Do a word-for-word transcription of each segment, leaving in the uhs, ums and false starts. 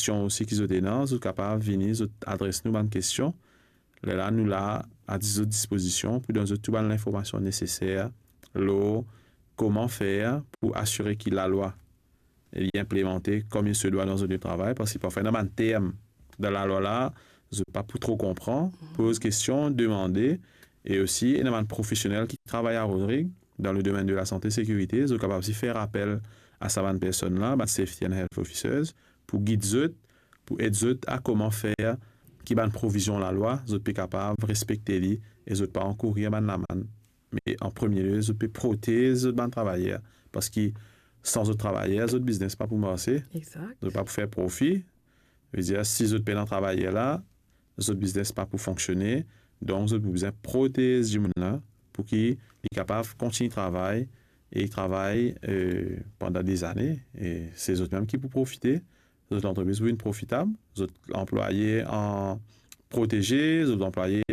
kestion osi ki zot ena, zot kapav vini, zot adres nou bann kestion. Lerla nou la a zot dispozision pou donn zot tou bann linformasion neseser lor kouma fer pou asire ki lalwa li inplimante kom li se dwa dan zot lie travay, parski parfwa ena bann term dan lalwa la, zot pa pou tro konpran, poz kestion, demande, e osi ena bann profesionel ki travay a Rodrig dan le domenn de lasante sekirite, zot kapav osi fer apel a sa bann personn la, bann safety and health officers, pou gid zot, pou ed zot a kouma fer ki bann provizion lalwa, zot pe kapav respekte li e zot pa ankourir bann lamann. Me an premie lie, zot pe protez zot bann travayer, parski san zot travayer, zot biznes pa pou marse, Exact. zot pa pou fer profi. Vedir, si zot pena travayer la, zot biznes pa pou fonksione. Donk, zot pou bizin protez dimoun la pou ki li kapav kontign travay e travay, eh, pandan dezane. E se zot mem ki pou profite, zot lantrepriz pou vinn profitab, zot anplwaye an proteze, zot anplwaye,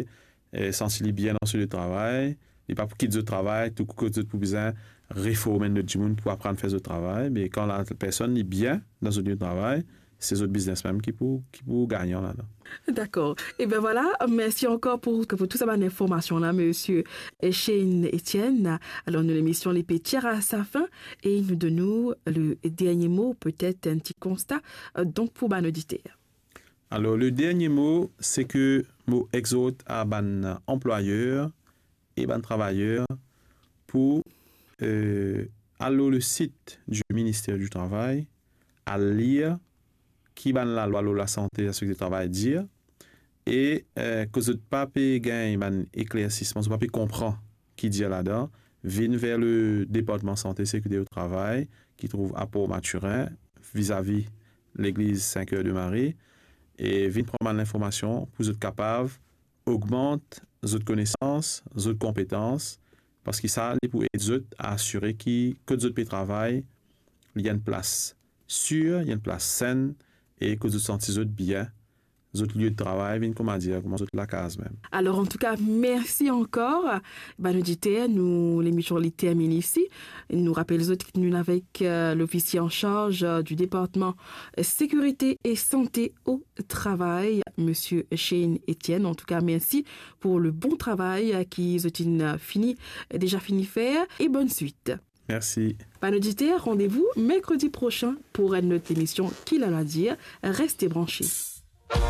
eh, santi li bien dan so lie travay. Li pa pou kit zot travay, tou kot zot pou bizin reform enn lot dimoun pou aprann fer zot travay. Me kan lapersonn li bien dan so lie travay, se zot biznes mem ki pou, ki pou gagnan ladan. Dakor. Eben vwala, mersi ankor pou, pou tou sa bann informasion la, misie Shane Etienne. Alor, nou lemision li pe tir a sa fin e nou donn ou le dernie mo, petet enn ti konsta, eh, donk pou bann oditer. Alor, le dernie mo, se ke mo exort a bann anplwayer e bann travayer pou, eh, al lor le sit du Ministère du Travail, al lir ki bann lalwa lor lasante e lasekirite travay dir, e, eh, kot zot pa pe gagn bann eklersisman, zot pa pe konpran ki dir ladan, vinn ver le Departman Sante Sekirite o Travay, ki trouv a Port Mathurin, vizavi legliz Saint-Cœur de Marie, e vinn pran bann linformasion pou zot kapav ogmant zot konesans, zot konpetans, parski sa, li pou ed zot a asire ki kot zot pe travay, li enn plas sir, li enn plas senn, e kot zot santi zot bien, zot lie de travay vinn, kouma dir, kouma zot lakaz mem. Alor, antouka, mersi ankor. Bann oditer, nou, lemision li termine isi. Nou rapel zot ki nou avek, eh, lofisie an sarz, eh, du Departman, eh, Sekirite e Sante o Travay, misie Shane Etienne. Antouka, mersi pou le bon travay, eh, ki zot inn, eh, fini, eh, deza fini fer, e bonn swit. Mersi. Bann oditer, randevou merkredi prosin pou enn lot emision Ki Lalwa Dir. Reste branche.